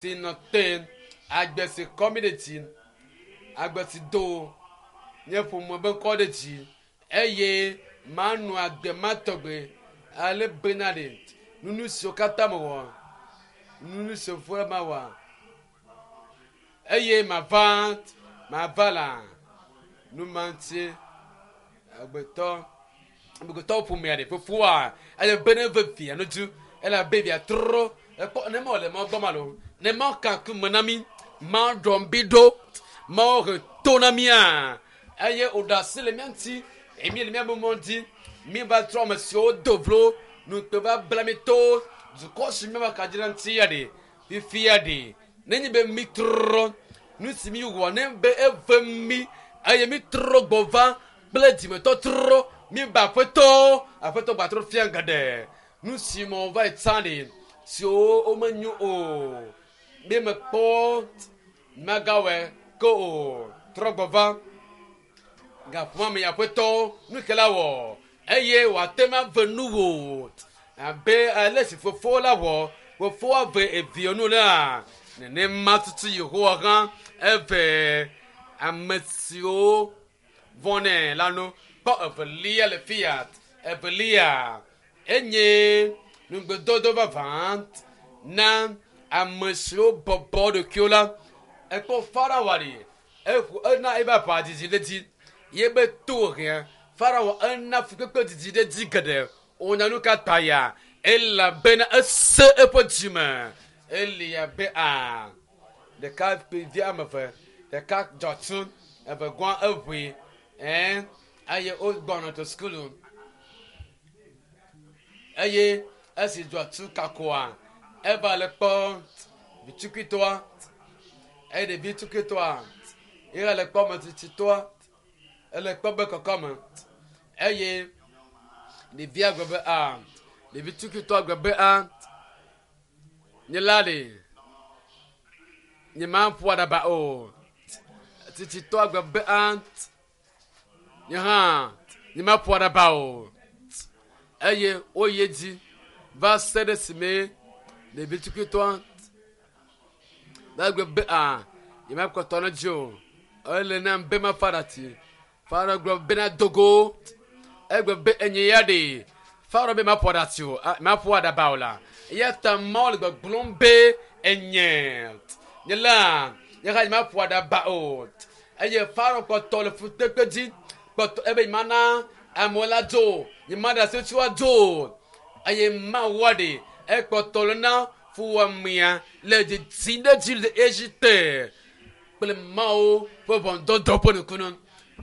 Si nɔ te agbe si kɔ mí ɖe dzi, agbe si do nye ƒome be ŋkɔ ɖe dzi eye manɔ agbe ma tɔgbe ale bena ɖe nunu siwo katã mewɔ, nunu siwo fo mawɔ eye mava mava la nu ma ŋuti agbetɔ amegbetɔwo ƒomea ɖe fofoa ele be ne ve via no dzu elabe via trɔ ekpɔ ne mɔ le mɔ gbɔ ma lo ne mɔ kaku me na mi ma ɖɔm bi ɖo ma he to na mia eye wòɖe asi le mía ŋuti eye mi le mía be mɔ dzi mi va trɔ ame siwo do vlo nukpe va bla mi to dukɔ si mi va ka dzi ɖe ŋuti ya ɖe fifia ɖe nenye be mi trɔ nu si mi wɔ ne be eve mi eye mi trɔ gbɔ va kple dzimetɔtrɔ mi ba aƒetɔ aƒetɔ gbatrɔ fia geɖe nu si me wova yi tsã ɖe siwo womenyo o mi mekpɔ magawɔe ke o trɔ gbɔ va gaƒoa me aƒetɔ nu ke la wɔ eye wòate ŋu ave nu wò abe ale si fofo la wɔ fofoa ve evia nu la nenema tutu yehowa hã eve ame siwo vɔnɛ la nu kpɔ evelia le fiat evelia enye nugbedodo vavã na ame siwo bɔbɔ ɖokuiwo la ekpɔ farawa ɖi eƒo ena ebe aʋa didi ɖe dzi ye be to hĩa farawa ena fukpekpe didi ɖe dzi geɖe wonya nu ka ta ya elabena ese eƒe dzime eli abe a ɖeka kpevi ame eve ɖeka dzɔtsu eve gɔa eʋui ɛn eye wogbɔna to sukulu eye esi dzɔtsu kakoa eva le kpɔ vitsukuitɔa eye ɖevi tsukuitɔa ye le kpɔ metsitsitɔa ele kpɔ be kɔkɔme eye ɖevia gblɔ be a ɖevi tsukuitɔa gblɔ be a nye la ɖe nye ma ƒo aɖaba o tsitsitɔa gblɔ be a nye hã nye ma ƒo aɖaba o eye woyi edzi va se ɖe esime ɖevi tsukuitɔa va gblɔ be a nye ma kpɔtɔ ne dzi o ele nam be mafa ɖati farao gblɔ bena dogo egblɔ be enye ya ɖe farao be maƒo aɖati o maƒo aɖaba o la eya ta mawu le gbɔgblɔm be enye nye la nye hã nye maƒo aɖaba o eye farao kpɔtɔ le fukpekpe dzi kpɔtɔ ebe nye mana amewo la dzo nye ma ɖe asi tsi woadzo eye mawua ɖe ekpɔtɔ le na fuwɔamea le dzidzi ɖe dzi le Egipte kple Mawu ƒe ʋɔnudɔdrɔ̃ ƒe nukunu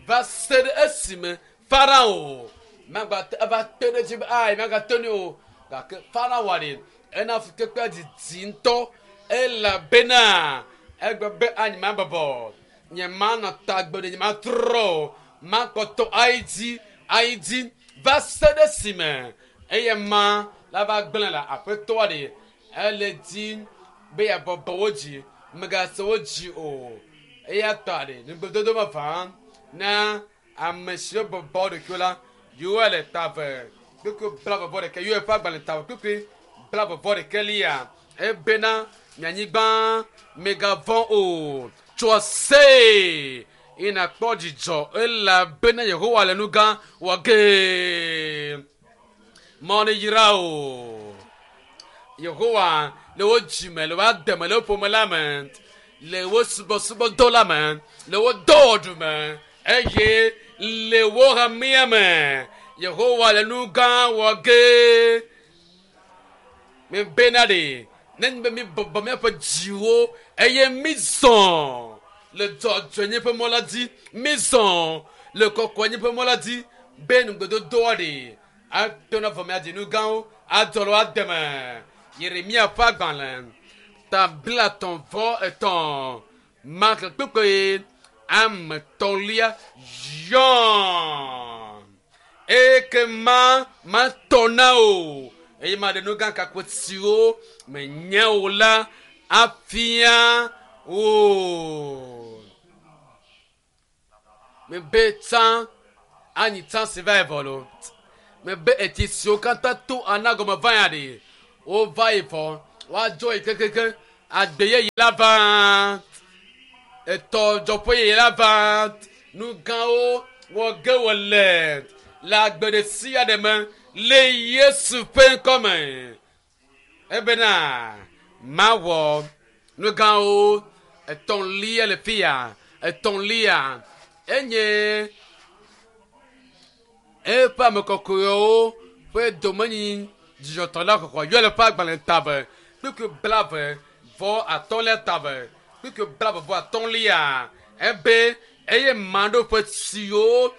va se ɖe esime Farao magate eva te ɖe edzi be ayi magate ŋui o gake Farao ɖe ena fukpekpea didi ŋutɔ elabena egblɔ be anyi mabɔbɔ nye manɔ tagbe ɖe nye matrɔ o makpɔtɔ ayi dzi ayi dzi va se ɖe esime eye ma la va gblẽ le aƒetɔa ɖe ele dzi be yeabɔbɔ wo dzi megase wo dzi o eya ta ɖe nugbedodo vavã na ame siwo bɔbɔ ɖokuiwo la yewoa le tave kpekpe bla vɔvɔ ɖeke yewoa ƒe agbalẽ tave kpekpe bla vɔvɔ ɖeke lia ebena mianyigba megavɔ̃ o tso ase eye nakpɔ dzidzɔ elabena yehowa le nu gã wɔ ge mɔ ne yra o yehowa le wo dzime le wo ademe le wo ƒome la me le wo subɔsubɔdɔ la me le wo dɔwɔɖu me eye le wo hamea me yehowa le nu gã wɔ ge mebena ɖe nenye be mi bɔbɔ míaƒe dziwo eye mi zɔ le dzɔdzɔenye ƒe mɔ la dzi mi zɔ le kɔkɔenye ƒe mɔ la dzi be nugbedodoa ɖe ato na vɔ miadzi nu gãwo adzɔ le woademe yeremia ƒe agbalẽ ta blatɔ̃ vɔ etɔ̃ mark kpekpe ame tɔlia yɔ ekema matɔ na o eye maɖe nu gã kakpo siwo menya o la afia o mebe tsã anyi tsã si va yi vɔ lo mebe etsi siwo katã to anagɔme va ya ɖe wova yi vɔ woadzɔ yi kekeke. Agbe yeye la va. Etɔ dzɔƒe yeye la va. Nu gãwo wɔ ge wòle le agbe ɖe sia ɖe me le Yesu ƒe ŋkɔme. Ebena mawɔ nu gãwo etɔ̃lia le fia. Etɔ̃lia enye eƒe ame kɔkɔewo ƒe domenyi dzidzɔtɔ la xɔxɔ yɔ le ƒe agbalẽ tave kpukpui blave vɔ atɔ̃lia tave kpukpui blave vɔ atɔ̃lia ebe eye maɖo ƒe tsiwo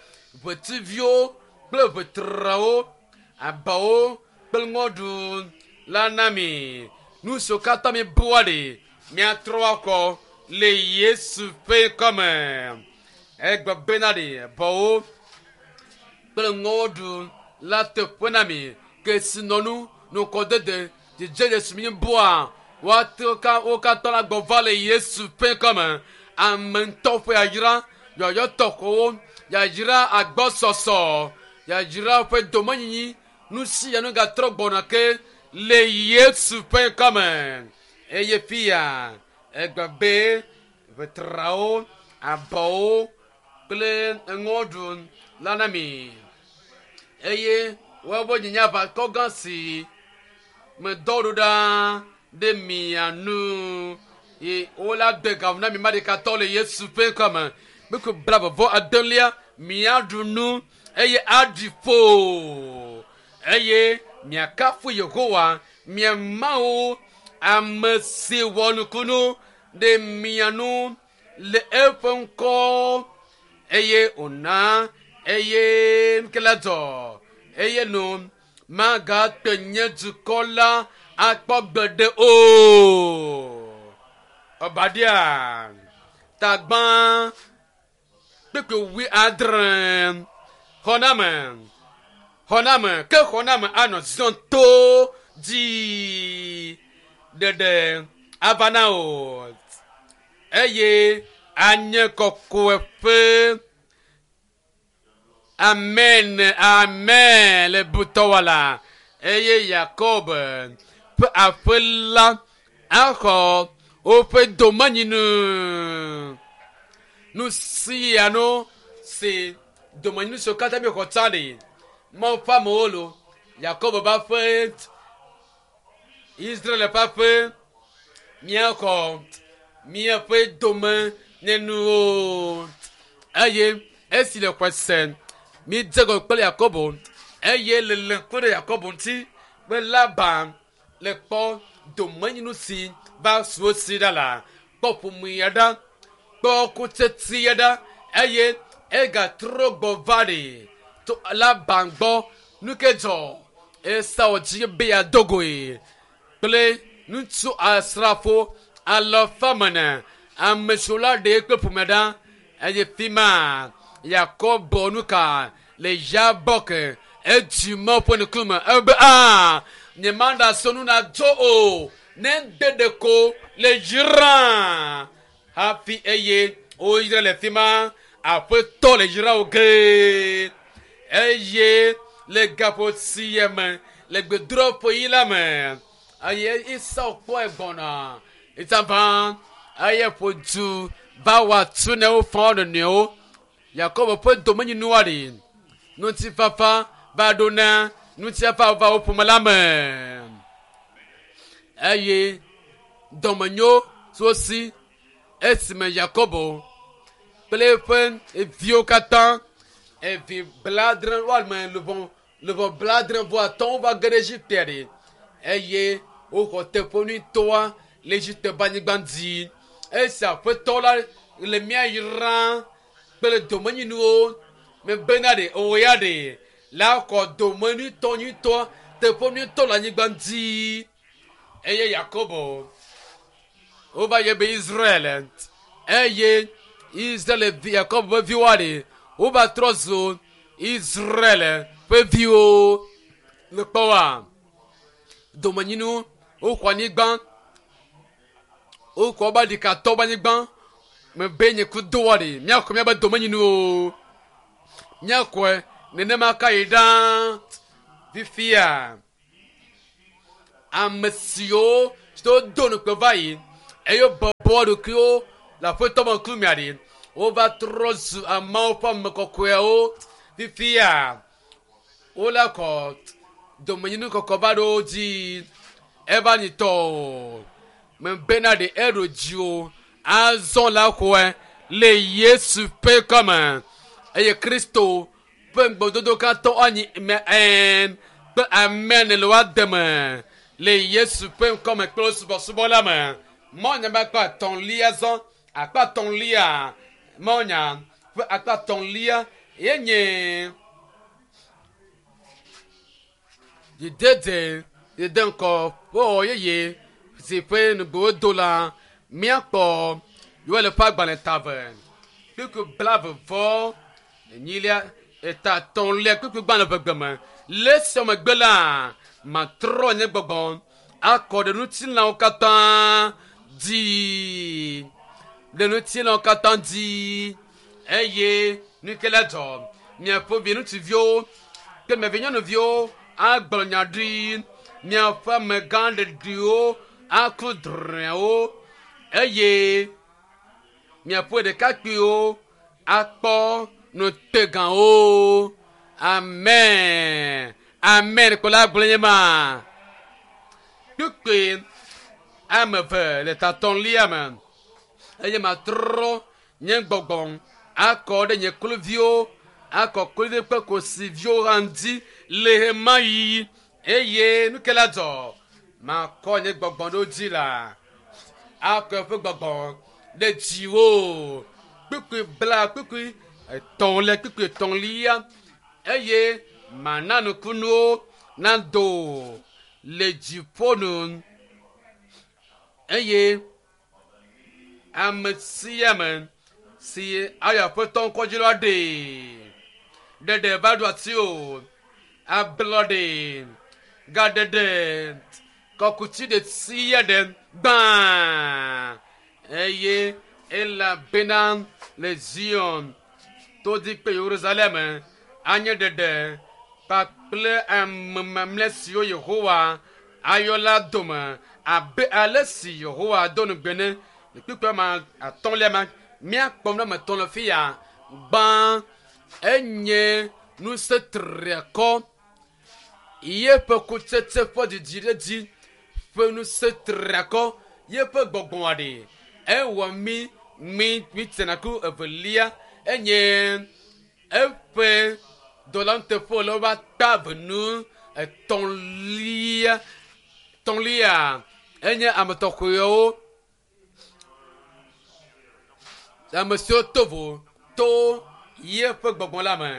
ʋetiviwo kple ʋetrawo abawo kple ŋɔɖu la na mi nu siwo katã mi bua ɖi miatrɔ akɔ le Yesu ƒe ŋkɔme egbe bena ɖi bɔwo kple ŋɔɖu la teƒe na mi kesinɔnu nukɔdede dzidzedze si mi bua woate wo katã la gbɔ va le Yesu ƒe ŋkɔme ame ŋutɔ ƒe yayra yɔyɔ tɔxɛwo yayra agbɔsɔsɔ yayra ƒe domenyinyi nu sia nu gatrɔ gbɔna ke le Yesu ƒe ŋkɔme eye fia egbe be ʋetrawo abɔwo kple ŋɔɖu la na mi eye woawoe nye aʋakɔ gã si medɔ ɖo ɖa ɖe mia nu ye wola de gawo na mi maɖekatɔ le Yesu ƒe ŋkɔme kpukpui blave vɔ adelia miaɖu nu eye aɖi ƒo eye miakafu Yehowa mia Mawu ame si wɔ nukunu ɖe mia nu le eƒe ŋkɔ eye wòna eye ŋke la dzɔ eye nu magate nye dukɔ la akpɔ gbeɖe o. Obadia tagbã kpukpui wui adre xɔname xɔname ke xɔname anɔ Zion to dzi ɖeɖe ava na o eye anye kɔkɔeƒe. Amen, amen le butɔwɔla eye Yakob ƒe aƒe la axɔ woƒe domenyinu. Nu sia nu si domenyinu siwo katã míexɔ tsã ɖi Mawu ƒe amewo lo Yakob ƒe aƒe Israel ƒe aƒe míaxɔ míaƒe domenyinuwo eye esi le xɔe se mídze gɔ kple Yakobo eye le le ŋku ɖe Yakobo ŋuti be Laban le kpɔ domenyinu si va su wo si ɖa la kpɔ ƒomea ɖa kpɔ kutsetsia ɖa eye egatrɔ gbɔ va ɖi to Laban gbɔ nu ke dzɔ Esau dzi be yeado goe kple ŋutsu asrafo alafa mene ame siwo la ɖe kple ƒome ɖa eye fi ma Yakob nu ka le Yabok edzi Mawu ƒe ŋkume ebe a nyemana sonu nadzo o ne ŋde ɖeko le yra hafi eye woyra le fi ma aƒetɔ le yra wo ge eye le gaƒo sia me le gbedoɖaƒe yi la me eye Esau kpɔe gbɔna etsava eye ƒo du va wɔ atu ne wofɔ wo nɔnɔewo Yakob ƒe domenyinua ɖi ŋutifafa va ɖo na ŋutifafa va wo ƒome la me eye dɔmenyo tso si esime Yakobo kple eƒe viwo katã evi bladre woame luʋɔ luʋɔ bladre vɔ atɔ̃wo va ge ɖe Egipte ɖi eye woxɔ teƒe nyuitɔa le Egipte ƒe anyigba dzi. Esi aƒetɔ la le mía yram kple domenyinuwo mebena ɖe o ya ɖe la xɔ domenyuitɔ nyuitɔ teƒe nyuitɔ le anyigba dzi. Eye Yakobo wova yɔ be Israel eye Israel vi Yakobo ƒe viwoa ɖe wova trɔ zu Israel ƒe viwo. Le kpɔwoa domenyinu woxɔ anyigba woxɔ wobe ɖikatɔ ƒe anyigba mebe nye ku doa ɖe míaxɔ míaƒe domenyinuwo míaxɔe nenema ka yi ɖaa fifia ame siwo do nukpe va yi. Eye wobɔbɔ wo ɖokuiwo le Aƒetɔ me ŋkume ɖi. Wova trɔ zu ameawo ƒe ame kɔkɔewo. Fifia wole kɔ domenyinu kɔkɔ va ɖo wo dzi. Eva nyi tɔ o. Mebena ɖe eɖo dzi o. Azɔ la xɔe le Yesu ƒe kɔme. Eye Kristo ƒe ŋugbedodo katã anyi me ɛn kple amen le woa deme le Yesu ƒe ŋkɔme kple subɔsubɔ la me. Mɔnya ƒe akpa etɔ̃lia zɔ akpa etɔ̃lia mɔnya ƒe akpa etɔ̃lia ye nye dzidede dede ŋkɔ ƒe yeye si ƒe nugbewo do la míakpɔ Yoel ƒe agbalẽ ta eve kpukpui blaeve vɔ enyilia eta etɔ̃lia kpukpui gbalẽ ƒe gbe me. Le esia megbe la matrɔ nye gbɔgbɔ akɔ ɖe ŋutilãwo katã dzi ɖe ŋutilãwo katã dzi eye nu ke la dzɔ miaƒe vi ŋutsuviwo kple mia vi nyɔnuviwo agblɔ nya ɖi miaƒe amegã ɖeɖiwo aku drɔ̃ewo eye miaƒe ɖekakpuiwo akpɔ nutegãwo. Amen. Amen. Kplɔla gblɔ nye ma. Kpukpui ame eve le tatɔ̃lia me eye matrɔ nye gbɔgbɔ akɔ ɖe nye kluviwo akɔ kluvi kple kosiviwo hã ŋuti le ɣemaɣi eye nu ke la dzɔ makɔ nye gbɔgbɔ ɖo dzi la akɔ eƒe gbɔgbɔ ɖe dziwò kpukpui bla kpukpui etɔ̃lia kpukpui etɔ̃lia eye mana nukunuwo nado le dziƒo nu eye ame sia ame si ayɔ aƒetɔ ŋkɔ dzi la ɖee ɖeɖe va ɖo ati o ablɔɖe gaɖeɖe kɔkuti ɖe sia ɖe gbã eye elabena le Zion todi kple Yerusalem anye ɖeɖe kpakple ame mamlɛ siwo Yehowa ayɔ la dome abe ale si Yehowa do ŋugbe ne le kpukpui ma atɔ̃lia ma míakpɔ nu ame etɔ̃ le fi ya gbã enye ŋusẽ triakɔ yeƒe kutsetse ƒe didi ɖe dzi ƒe ŋusẽ triakɔ yeƒe gbɔgbɔa ɖe ewɔ mí mí mí tsena ku evelia enye eƒe dɔlanuteƒe le woƒe akpa eve nu etɔ̃lia tɔ̃lia enye ame tɔxɛwo ame siwo to vo to yeƒe gbɔgbɔ la me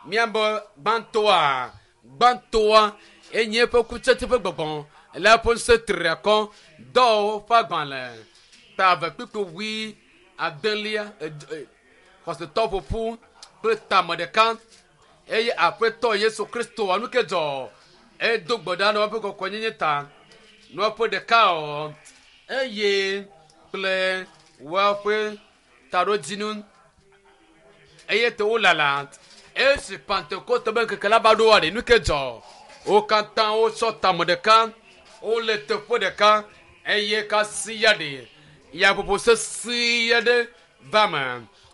míabe gbãtɔa gbãtɔa enye eƒe kutsetse ƒe gbɔgbɔ le eƒe ŋusẽ triakɔ dɔwɔwɔ ƒe agbalẽ ta eve kpukpui wui adelia xɔsetɔ ƒoƒu kple tame ɖeka eye aƒetɔ Yesu Kristo nu ke dzɔ edo gbe ɖa na woƒe kɔkɔenyenye ta na woƒe ɖeka o eye kple woƒe taɖodzinu eye te wolala esi Pentekoste be ŋkeke la va ɖoa ɖe nu ke dzɔ wo katã wotsɔ tame ɖeka wole teƒe ɖeka eye kasia ɖe yaƒoƒo sesẽ aɖe va me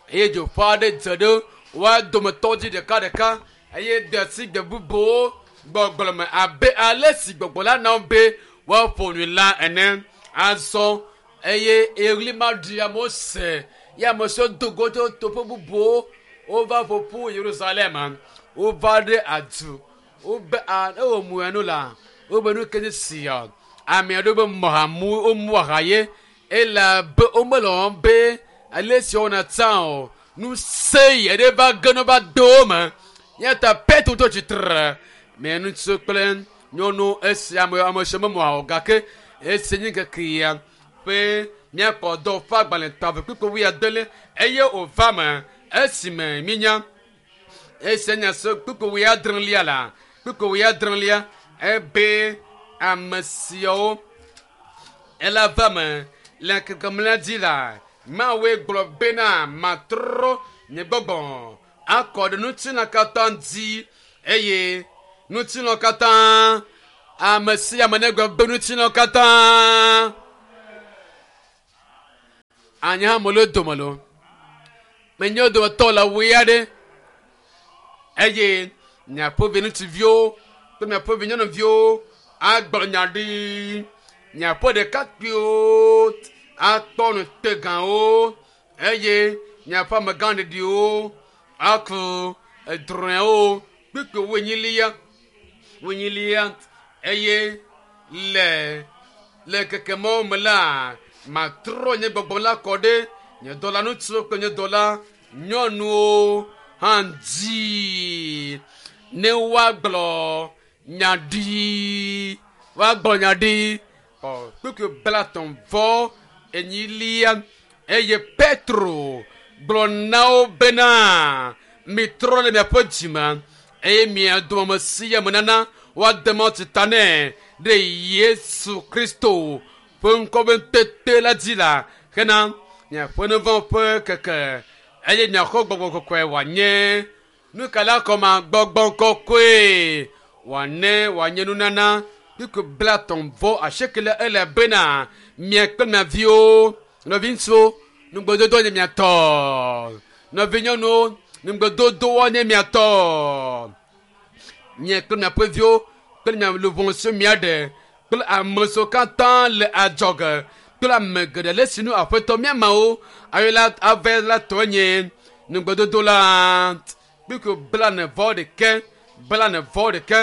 eye dzoƒe aɖe dze ɖe woa dometɔ dzi ɖekaɖeka eye de asi gbe bubuwo gbɔgblɔ me abe ale si gbɔgbɔ la na wo be woaƒo nu la ene azɔ eye eɣli ma ɖi amewo se ye ame siwo do go tso toƒe bubuwo wova ƒo ƒu Yerusalem wova ɖe adu wobe a ewɔ mu enu la wobe nu ke nye sia ame aɖewo be mɔ ha mu womu aha ye elabe womele wɔm be ale si wowɔna tsã o ŋusẽ yi ɖe va ge ne va do wo me ya ta Petro tɔ tsitre me ŋutsu kple nyɔnu esi ame ame si memɔ o gake esi nye ŋkeke ya ƒe míakpɔ dɔ ƒe agbalẽ ta eve kpukpui wuiadelia eye wòva me esime míenya esi nya se kpukpui wuiadrelia la kpukpui wuiadrelia ebe ame siawo ela va me le ŋkeke mlɔea dzi la Mawue gblɔ bena matrɔ nye gbɔgbɔ akɔ ɖe ŋutilã katã dzi eye ŋutilã katã ame sia ame negblɔ be ŋutilã katã. Anye hã mele wo dome loo. Menye wo dometɔ le wui aɖe eye miaƒe viŋutsuviwo kple miaƒe vinyɔnuviwo agblɔ nya ɖi. Miaƒe ɖekakpuiwo akpɔ nutegawo eye miaƒe amegãɖeɖiwo aku edrɔ̃ewo kpukpui wuenyilia wuenyilia eye le le ŋkeke mawo me la, matrɔ nye gbɔgbɔ la kɔ ɖe nye dɔla ŋutsuwo kple nye dɔla nyɔnuwo hã dzi ne woagblɔ nya ɖi woagblɔ nya ɖi ɔ kpukpui blatɔ̃ vɔ enyilia eye Petro gblɔ na wo bena mitrɔ le miaƒe dzime eye mia dome ame sia ame nana woade mawutsi ta nɛ ɖe Yesu Kristo ƒe ŋkɔ ƒe ŋutete la dzi la hena miaƒe nu vɔ̃ ƒe keke eye miaxɔ gbɔgbɔ kɔkɔe wòanye nu ka la kɔma gbɔgbɔ kɔkɔe wòane wòanye nunana kpukpui blatɔ̃ vɔ asiekɛlia ele bena mia kple mia viwo nɔviŋutsuwo nugbedodo nye mia tɔ nɔvinyɔnuwo nugbedodowoa nye mia tɔ mia kple miaƒe viwo kple mia luʋɔ siwo miaɖe kple ame siwo katã le adzɔge kple ame geɖe le sinu aƒetɔ mía mawo ayo la ave la tɔ nye nugbedodo la kpukpui blane vɔ ɖeke blane vɔ ɖeke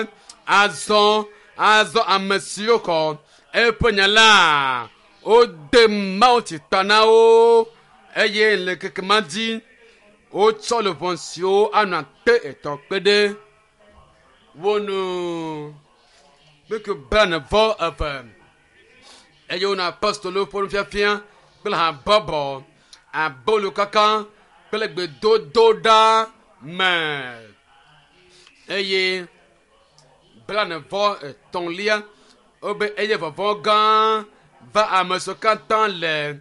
azɔ azɔ ame siwo xɔ eƒe nya la wode mawutsi ta na wo eye le ŋkeke ma dzi wotsɔ luʋɔ siwo anɔ akpe etɔ̃ kpe ɖe wo nu kpukpui blane vɔ eve eye wonɔ apostolowo ƒe nufiafia kple habɔbɔ abolo kaka kple gbedodoɖa me eye blane vɔ etɔ̃lia wobe eye vɔvɔ̃ gã va ame siwo katã le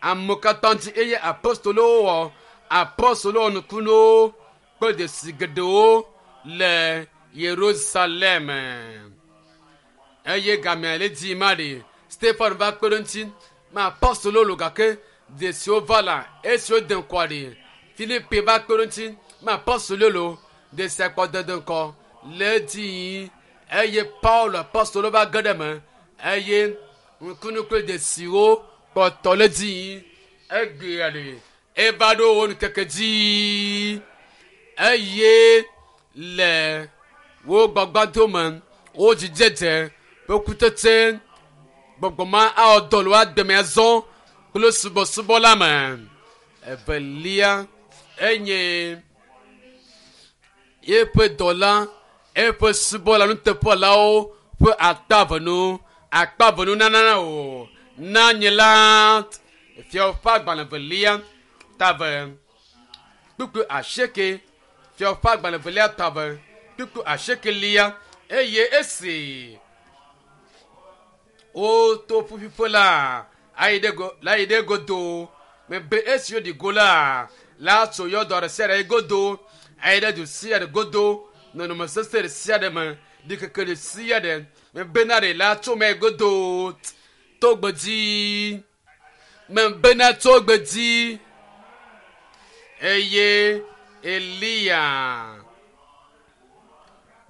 amewo katã dzi eye apostolowo wɔ apostolowo wɔ nukunuwo kple dzesi geɖewo le Yerusalem. Eye gamea le dzi ma ɖi Stefan va kpe ɖe ŋuti ma apostolowo lo gake dzesiwo va la esiwo de ŋkɔa ɖi Filipe va kpe ɖe ŋuti ma apostolowo lo dzesi akpɔ dede ŋkɔ le edzi eye Paulo apostolo va ge ɖe eme eye ŋkunu kple dzesiwo kpɔtɔ le edzi egbea ɖi eva ɖo wo ŋkeke dzi eye le wo gbagbadome wo dzidzedze ƒe kutsetse gbɔgbɔ ma awɔ dɔ le woa deme azɔ kple subɔsubɔ la me evelia enye yeƒe dɔla eƒe subɔla nuteƒelawo ƒe akpa venu akpa venu nana o na nye la fiawo ƒe agbalẽ velia tave kpukpui asieke fiawo ƒe agbalẽ velia tave kpukpui asiekelia eye esi woto ƒuƒuƒe la ayi ɖe go la yi ɖe godo mebe esi woɖi go la la tso yɔdɔ ɖe sia ɖe yi godo ayi ɖe du sia ɖe godo nɔnɔme sesẽ ɖe sia ɖe me ɖikeke ɖe sia ɖe mebena ɖe la tso me godo to gbedzi mebena tso gbedzi eye Eliya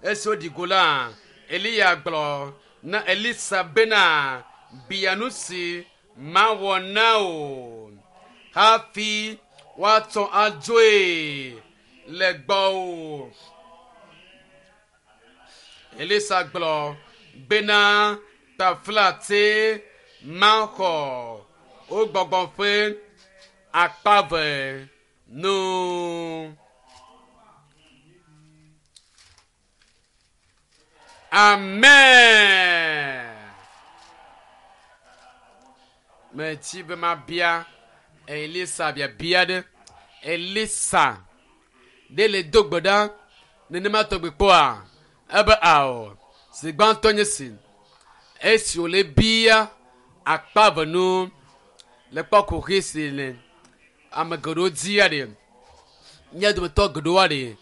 esi woɖi go la Eliya gblɔ na Elisa bena bia nu si mawɔ na o hafi woatsɔ adzoe le gbɔwò. Elisa gblɔ bena taflatse maxɔ wo gbɔgbɔ ƒe akpa ve nu. Amen. Metsi be mabia Elisa biabia ɖe. Elisa ɖe le do gbe ɖa nenema tɔgbi kpɔa ebe ao si gbãtɔ nye si esi wòle bia akpa ve nu le kpɔ kuxi si le ame geɖewo dzia ɖe mía dometɔ geɖewoa ɖe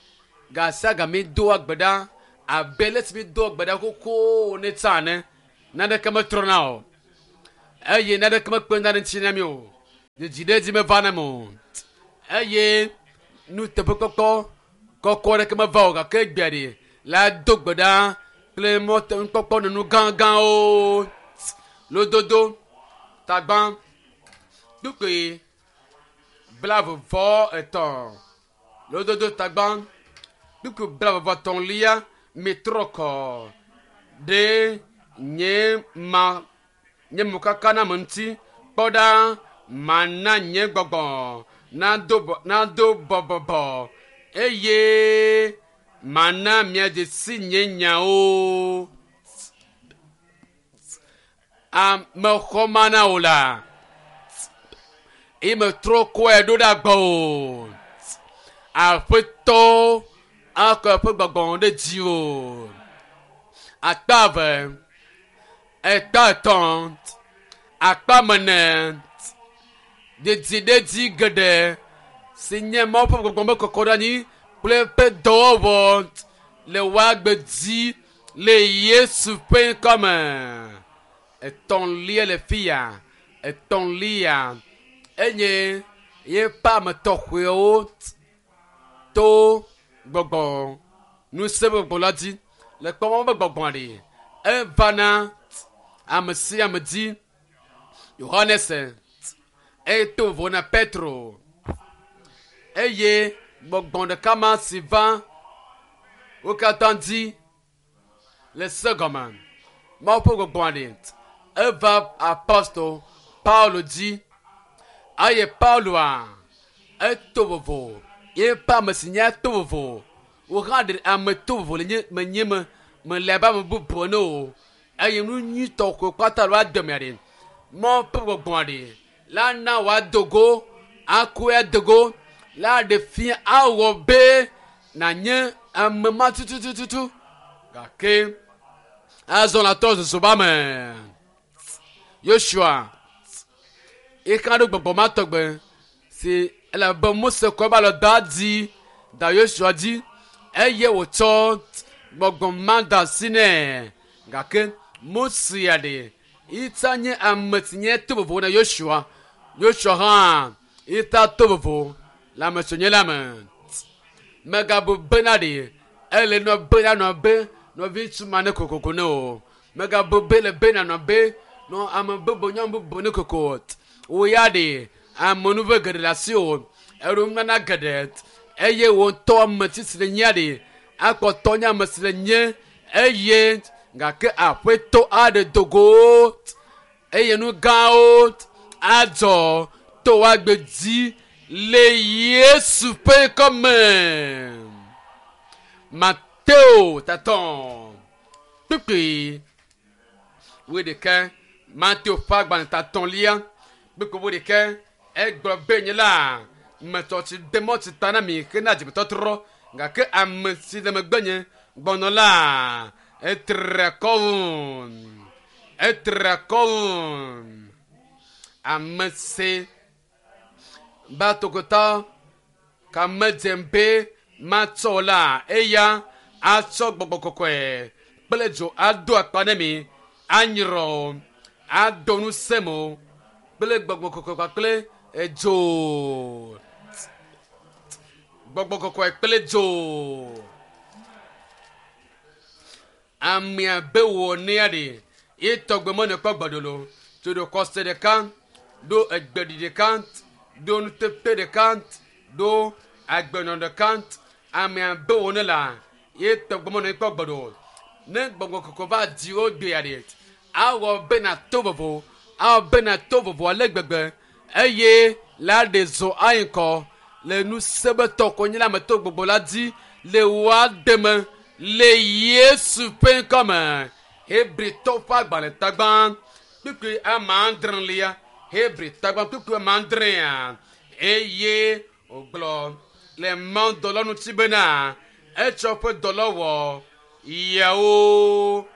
gasia game doa gbe ɖa abe le si mi doa gbe ɖa xoxo ne tsã ene naneke metrɔna o eye naneke mekpena ɖe ŋuti na mi o. Dzidziɖedzi meva na me o eye nuteƒekpɔkpɔ kɔkɔ aɖeke meva o gake egbea ɖe la do gbe ɖa kple mɔtenukpɔkpɔ nunu gãgãwo. Lododo tagbã kpukpui 33. Lododo tagbã kpukpui 33 mitrɔ kɔ ɖe nye ma nye mokaka na ame ŋuti. Kpɔ ɖa mana nye gbɔgbɔ nado nado bɔbɔbɔ eye mana miadze si nye nyawo. Amexɔ mana o la eye metrɔ kɔe ɖo ɖe agbɔ o. Aƒetɔ akɔ eƒe gbɔgbɔ ɖe dzi o. Akpa eve, ekpa etɔ̃, akpa mene, dzidziɖedzi geɖe si nye Mawu ƒe gbɔgbɔ me kɔkɔ ɖe anyi kple eƒe dɔwɔwɔ le woagbe dzi le Yesu ƒe ŋkɔ me. Etɔ̃lia le fi ya. Etɔ̃lia enye yeƒe ame tɔxɛwo to gbɔgbɔ ŋusẽ gbɔgbɔ la dzi. Le kpɔm be gbɔgbɔ ɖe evana ame sia ame dzi. Yohanes eto vovo na Petro eye gbɔgbɔ ɖeka ma si va wo katã dzi le se gɔme. Mawu ƒe gbɔgbɔ ɖe eva apostol Paulo dzi eye Pauloa eto vovo yeƒe ame si nye to vovo. Wo hã ɖe ame to vovo le nye menye me mele abe ame bubu ene o eye nu nyuitɔ ko kpata le woade mea ɖe. Mawu ƒe gbɔgbɔ ɖe la na wòado go akɔe ado go la ɖe fia awɔ be nànye ame ma tutututu gake azɔ la tɔ zozo ba me. Yosua eka ɖo gbɔgbɔ ma tɔgbe si elabe Mose kɔ eƒe alɔ da dzi da Yosua dzi eye wòtsɔ gbɔgbɔ ma da asi nɛ gake Mose ya ɖe ita nye ame si nye to vovo na Yosua. Yosua hã ita to vovo le ame si wònye la me. Megabu bena ɖe ele nɔ be anɔ be nɔviŋutsu ma ne kokoko ne o. Megabu be le be nanɔ be nɔ ame bubu nyɔnu bubu ne koko. Wò ya ɖe amenuve geɖe le asi o. Eɖo nunana geɖe eye wò ŋutɔ ame si le nyia ɖe akpɔtɔ nye ame si le nye eye gake aƒetɔ aɖe do go eye nu gãwo adzɔ to woagbe dzi le Yesu ƒe ŋkɔme. Mateo tatɔ kpukpui wuiɖekɛ. Mateo ƒe agbalẽ tatɔ̃lia kpukpui wuiɖekɛ egblɔ be nye la metɔ tsi de mɔ tsi ta na mi hena dzimetɔtrɔ gake ame si le megbenye gbɔnɔ la etre akɔ wum etre akɔ wum ame si ba tokotɔ ka medze be matsɔ la eya atsɔ gbɔgbɔ kɔkɔe kple dzo ado akpa ne mi anyrɔ ado ŋusẽ mo kple gbɔgbɔ kɔkɔe kpakple edzo gbɔgbɔ kɔkɔe kple dzo amea be wɔ nea ɖe ye tɔgbe me nekpɔ gbɔdolo tso ɖo kɔse ɖeka ɖo egbeɖi ɖeka ɖo nuteƒe ɖeka ɖo agbenɔ ɖeka amea be wɔ ne la ye tɔgbe me nekpɔ gbɔdo ne gbɔgbɔ kɔkɔe va dzi wo gbea ɖe awɔ be na to vovo awɔ be na to vovo ale gbegbe eye la ɖe zɔ ayi ŋkɔ le nusebetɔ ko nye la me to gbogbo la dzi le woa deme le Yesu ƒe ŋkɔme. Hebritɔ ƒe agbalẽ tagbã kpukpui ame adrelia Hebri tagbã kpukpui ame adrea eye wògblɔ le mawudɔla ŋuti bena etsɔ eƒe dɔlɔwɔ yawo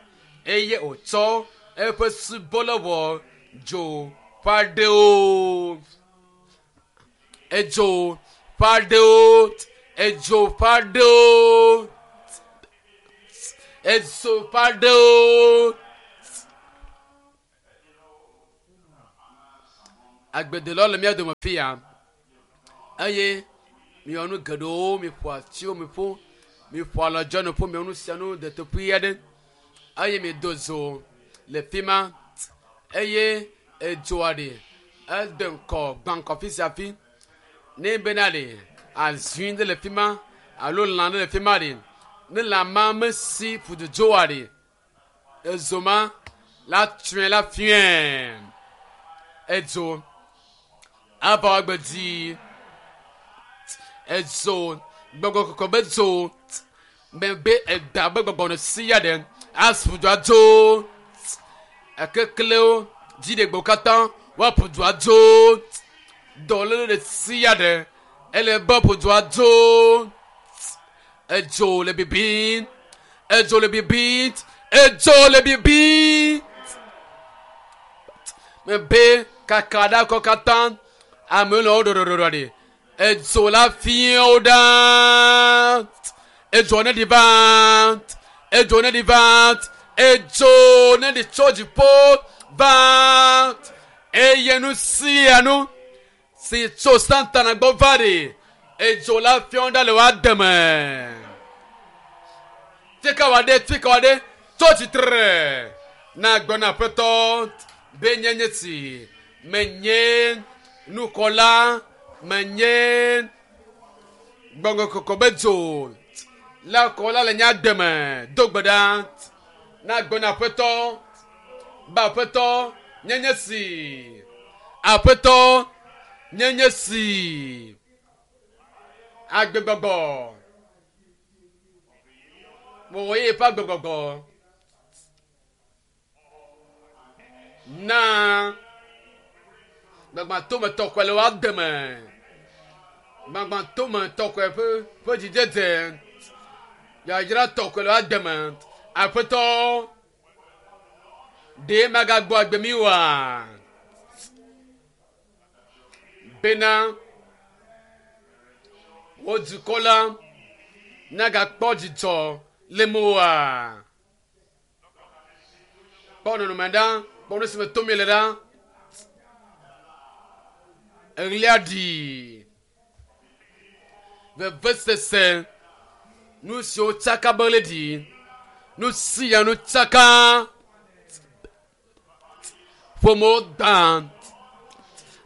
eye wòtsɔ eƒe subɔlɔwɔ dzo ƒe aɖewo edzo ƒe aɖewo edzo ƒe aɖewo edzo ƒe aɖewo. Agbedelawo le mía dome fi ya eye miwɔ nu geɖewo, miƒo atiwo, miƒo miƒo alɔdzɔ nuƒo, miwɔ nu sia nu deteƒui aɖe eye mido zo le fi ma eye edzoa ɖe ede ŋkɔ gbã ŋkɔ fi sia fi. Ne bena ɖe azui ɖe le fi ma alo lã ɖe le fi ma ɖe, ne lã ma mesi ƒududzoa ɖe, ezo ma la tsɔe la fiɛ. Edzo ava agbe dzi. Edzo gbɔgbɔ kɔkɔ be dzo mebe eda be gbɔgbɔ ne si ya ɖe asu dzoa dzo. Ekeklewo dziɖegbewo katã woaƒu dzoa dzo. Dɔléle ɖe si ya ɖe ele be woaƒu dzoa dzo. Edzo le bibim. Edzo le bibim. Edzo le bibim. Mebe kaka ɖe akɔ katã amewo le wo ɖoɖoɖoɖo ɖi. Edzo la fia wo ɖa. Edzo ne ɖi va. Edzo ne ɖi va. Edzo ne ɖi tso dziƒo va. Eye nu sia nu si tso Satana gbɔ va ɖi. Edzo la fia wo ɖa le woa deme. Tika wa ɖe, tika wa ɖe, tso tsitre. Na gblɔ na aƒetɔ be nye nye si menye nukɔla, menye gbɔgbɔ kɔkɔ be dzo la kɔla le nye deme. Do gbe ɖa na gblɔ na aƒetɔ be aƒetɔ nye nye si, aƒetɔ nye nye si. Agbegbɔgbɔ wɔwɔ ye ƒe agbegbɔgbɔ na gbagbatome tɔkɔe le woa deme. Gbagbatome tɔkɔe ƒe ƒe dzidzedze yayra tɔkɔe le woa deme. Aƒetɔ ɖe magagbɔ agbe mi oa? Bena wo dukɔ la nagakpɔ dzidzɔ le moa? Kpɔ nɔnɔme ɖa, kpɔ nu si me tom le ɖa. Eɣlia ɖi. Vevesese, nu siwo tsaka be ɣli ɖi, nu sia nu tsaka. Ƒomewo gbã.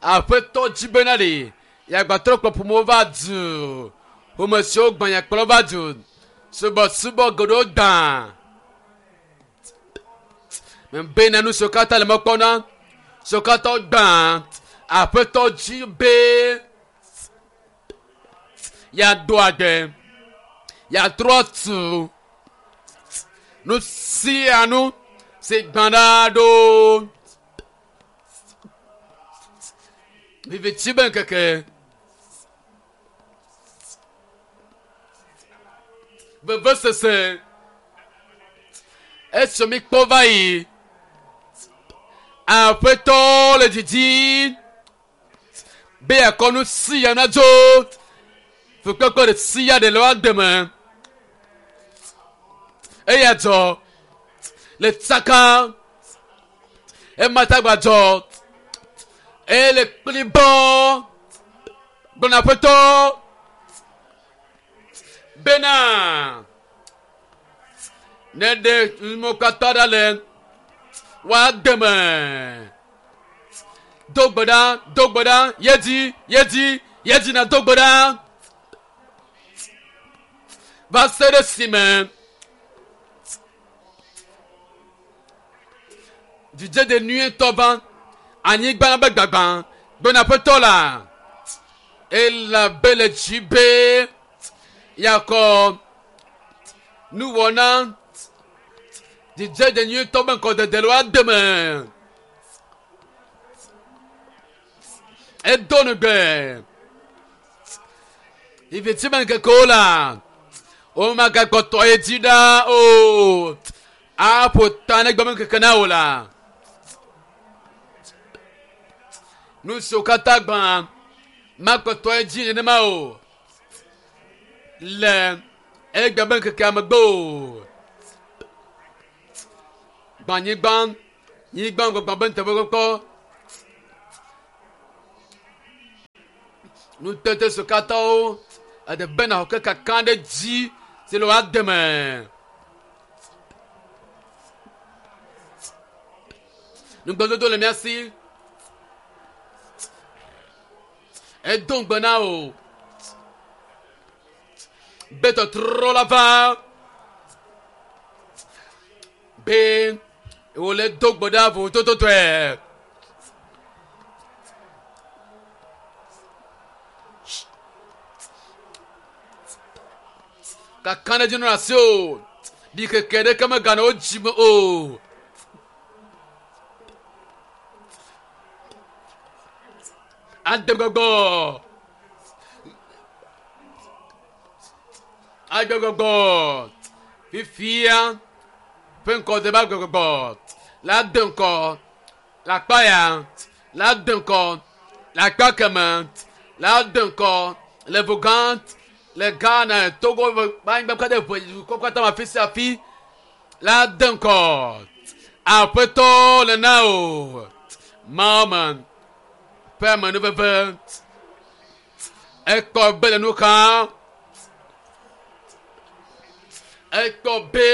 Aƒetɔ dzi bena ɖe yeagbatrɔ kplɔ ƒomewo va du. Ƒome siwo gbã yeakplɔ va du. Subɔsubɔ geɖewo gbã. Bena nu siwo katã le mɔ kpɔm na, siwo katã gbã. Aƒetɔ dzi be yeado agbe, yeatrɔ tu nu sia nu si gbã ɖa ɖo. Viviti be ŋkeke. Vevesese. Esi mi kpɔ va yi. Aƒetɔ le didi be yeakɔ nu sia na dzo. Fukpekpe ɖe sia ɖe le woa deme. Eya dzɔ le tsaka. Ema tagba dzɔ. Eye le kplibɔ. Gblɔ aƒetɔ bena ne ɖe nuwo katã ɖa le woa deme. Do gbe ɖa, do gbe ɖa, yedzi, yedzi, yedzi na do gbe ɖa. Va se ɖe esime dzidzedze nyuietɔ va anyigba la be gbagbã gbɔna aƒetɔ la elabe le dzi be yeakɔ nuwɔna dzidzedze nyuietɔ be ŋkɔdede le woa deme. Edo nugbe. Viviti be ŋkekewo la, womagakpɔtɔ ye dzi ɖa o. Aƒo ta ne gbeme ŋkeke na wò la. Nu siwo katã gbã makpɔtɔ ye dzi nenema o. Le egbe be ŋkekea megbe o. Gbã nyigba, nyigba gbagba be nuteƒekpɔkpɔ. Nutete siwo katã wo eɖe be nàxɔ ke kaka ɖe dzi si le woa deme. Nugbedodo le mía si. Edo ŋugbe na wò be tɔtrɔ la va be wòle do gbe ɖa vovotototɔe. Kakaɖedzi nɔ asi o. Ɖikeke ɖeke meganɔ wo dzi me o. Adegbɔgbɔ. Adegbɔgbɔ. Fifia ƒe ŋkɔ de be agbegbɔgbɔ la de ŋkɔ le akpa ya la de ŋkɔ le akpa keme la de ŋkɔ le Vogant le Ghana Togo anyigba katã ʋe dukɔ katã me afi sia afi la de ŋkɔ aƒetɔ le na o Mawu me ƒe amenuveve ekpɔ be le nu xam ekpɔ be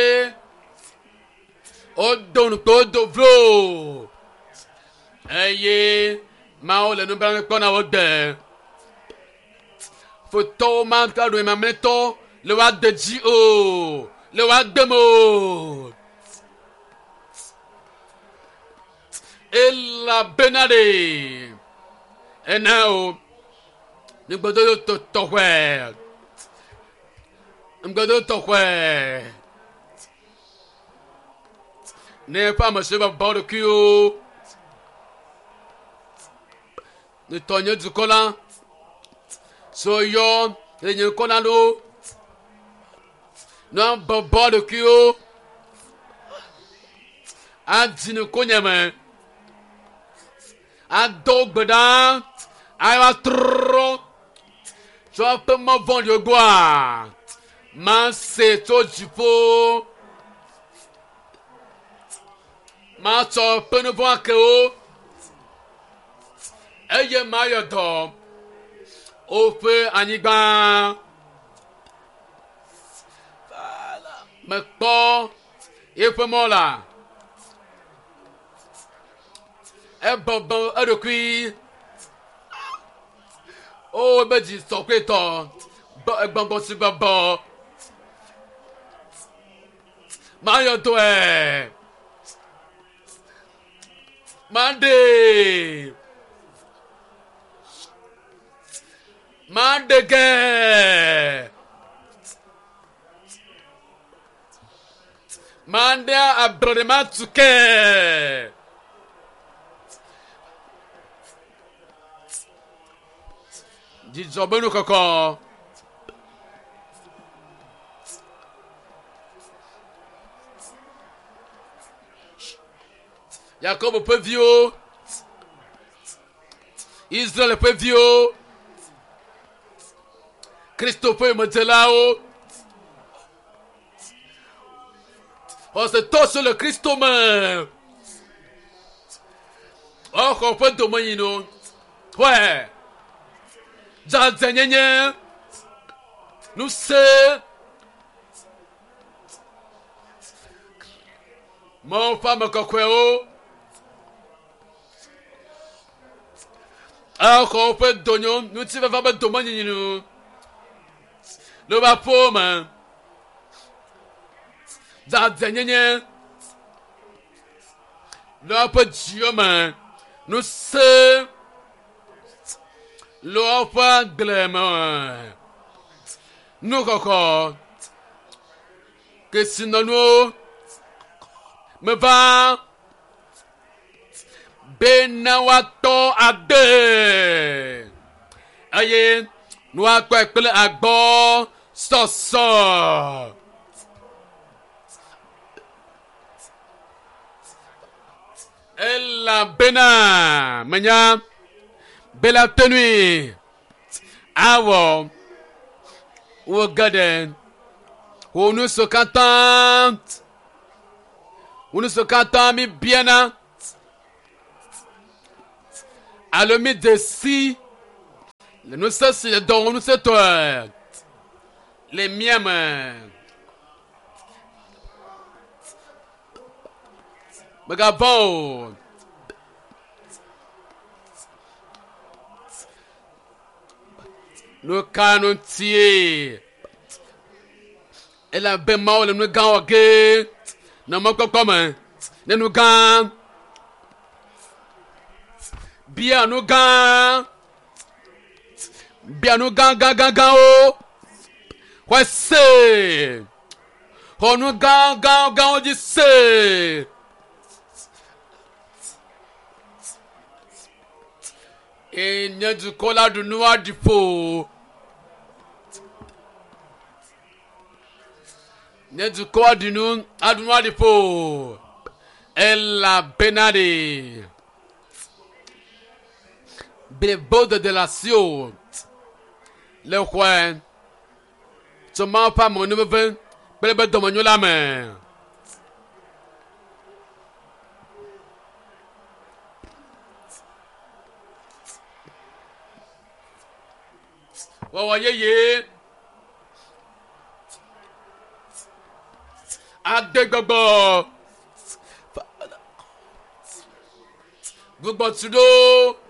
wodo ŋukpe wodo vlo eye Mawu le nublanui kpɔm na wo de. Futɔwo magaɖu mamlɛtɔ le woade dzi o, le woade me o. Elabena ɖe ena o ŋugbedodo tɔxɔe, ŋugbedodo tɔxɔe. Ne eƒe ame siwo bɔbɔ ɖokuiwo netɔ nye dukɔ la siwo yɔ le nye ŋkɔ la ɖo ne bɔbɔ ɖokuiwo adi nukonye me ado gbe ɖa ava trɔ tso eƒe mɔ vɔ̃ɖiwo gbɔa mase tso dziƒo matsɔ eƒe nu vɔ̃ ake wo eye mayɔ dɔ woƒe anyigba. Mekpɔ eƒe mɔ la. Ebɔbɔ eɖokui. O ebe dzi sɔkɔetɔ. Gbɔgbɔ si bɔbɔ. Mayɔ dɔe. Maɖee. Maɖe ge. Maɖe ablɔɖe matu ke. Dzidzɔ be nu kɔkɔ. Yakobo ƒe viwo, Israel ƒe viwo, Kristo ƒe yomedzelawo, xɔsetɔ siwo le Kristo me, woaxɔ ƒe domenyinu, xɔe, dzadzɛnyenye, ŋusẽ, Mawu ƒe ame kɔkɔewo axɔ woƒe donyo ŋutifafa ƒe domenyinyi nu le woƒe aƒewo me. Dzadzɛnyenye le woƒe dziwo me. Ŋusẽ le woƒe agble me. Nuxɔxɔ kesinɔnuwo meva bena woatɔ ade eye woakpɔe kple agbɔ sɔsɔ. Elabena menya be la tenui awɔ wo geɖe wò nu siwo katã wò nu siwo katã mi biana alo mi de si Le ŋusẽ si le dɔ wɔm ŋusẽtɔe le mía me. Mègavɔ̃ o. Nu ka ŋutie? Elabe Mawu le nu gã wɔ ge nɔ mɔkpɔkpɔ me ne nu gã. Bia nu gã. Bia nu gã gã gã gãwo. Xɔe se. Xɔ nu gã gã gãwo dzi se. Eye nye dukɔ la ɖu nu aɖi ƒo. Nye dukɔ aɖi nu aɖu nu aɖi ƒo. Elabena ɖe blibodede le asiwò le xɔe tso Mawu ƒe amenuveve kple eƒe dɔmenyo la me. Wɔwɔ yeye ade gbɔgbɔ gbugbɔ tu ɖo.